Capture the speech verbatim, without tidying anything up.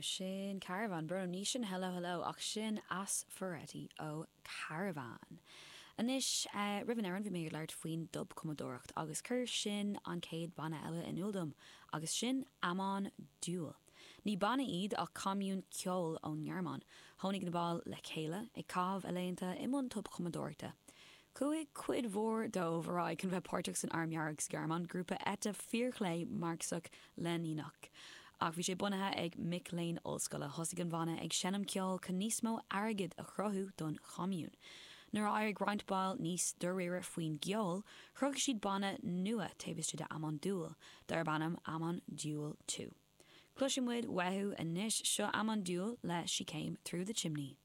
Sin Caravan Bruno ní sin hello hello ach sin Aspharetti ó Caravan. Anois uh, roimh an amhrán bhí mé ag labhairt faoin dtobchumadóireacht agus chuir sin an chéad banna eile in iúl dom agus sin Amon Düül. Ní banna iad ach commún ceoil ón nGearmáin, tháinig na baill le chéile ag caitheamh a laethanta i mbun tobchumadóireachta. Chuaigh cuid mhór dóibh ar aghaidh chun bheith páirteach san Arm Dearg sa Ghearmáin, grúpa eite fíorchlé Marxach Leiníneach. Ach bhí sé bunaithe ag mic léinn ollscoile thosaigh an banna ag seinm ceoil chun níos mó airgid a chruthú don chommún. Nuair a d'éirigh roinnt ball níos dáiríre faoin gceol, chruthaigh siad banna nua taobh istigh de Amon Düül, darb ainm Amon Düül Two. Cloisfidh muid uathu anois seo Amon Düül le She Came Through the Chimney.